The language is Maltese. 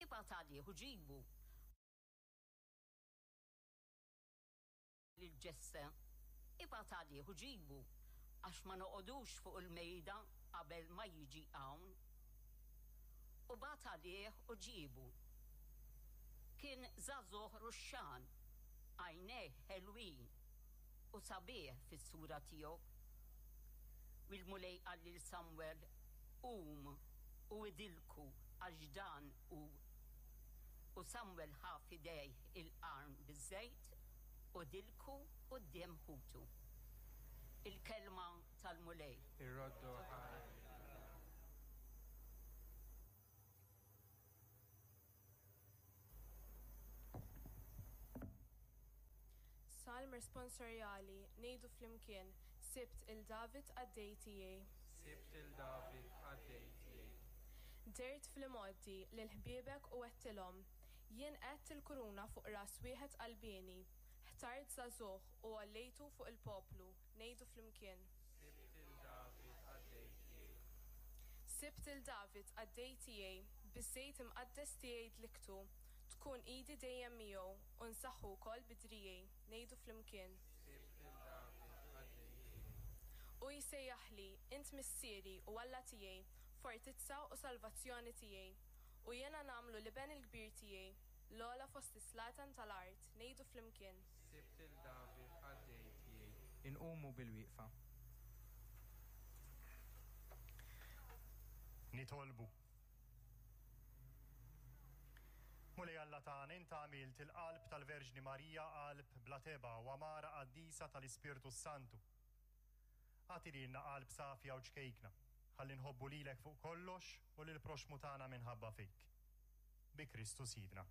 Ibgħat għalih u ġibu. Lil Ġesse, Ibgħat għalih u ġibu, għax ma noqogħdux fuq il-mejda qabel ma jiġi hawn. U bagħat għalih u ġiebu. Kien żagħżugħ ruxxan, għajnejh ħelwin, u sabiħ fis-sura tiegħu. U l-Mulej qal lil Samwel, Qum u idilku, għax dan hu. U Samwel ħa f'idejh il-qarn biż-żejt u dilku quddiem ħutu. Il-kelma tal-Mulej. Irroddu ħajr lil Alla. Salm responsorjali, ngħidu flimkien, Sibt 'il David qaddej tiegħi. Sibt 'il David qaddej tiegħi. Dehrt fl-imgħoddi lil ħbiebek u għedtilhom, Jien qegħedt il-kuruna fuq ras wieħed qalbieni, ħtart żagħżugħ u għollejtu fuq il-poplu, ngħidu flimkien. Sibt 'il David qaddej tiegħi. Sibt 'il David qaddej tiegħi, biż-żejt imqaddes tiegħi dliktu, tkun idi dejjem miegħu, u nsaħħu wkoll bi driegħi, ngħidu flimkien. Sibt 'il David qaddej tiegħi. Hu jsejjaħli, 'Int Missieri u Alla tiegħi, fortizza u salvazzjoni tiegħi. U jiena nagħmlu l-iben il-kbir tiegħi, l-ogħla fost is-slaten tal-art, ngħidu flimkien. Sibt 'il David qaddej tiegħi. Inqumu bilwieqfa. Nitolbu. Mulej Alla tagħna, int għamilt il-qalb tal-Verġni Marija qalb bla tebgħa u għamara qaddisa tal-Ispirtu s-Santu. Agħti lilna qalb safja u ċkejkna, ħalli nħobbu lilek fuq kollox u lill-proxxmu tagħna minħabba fik. Bi Kristu Sidna.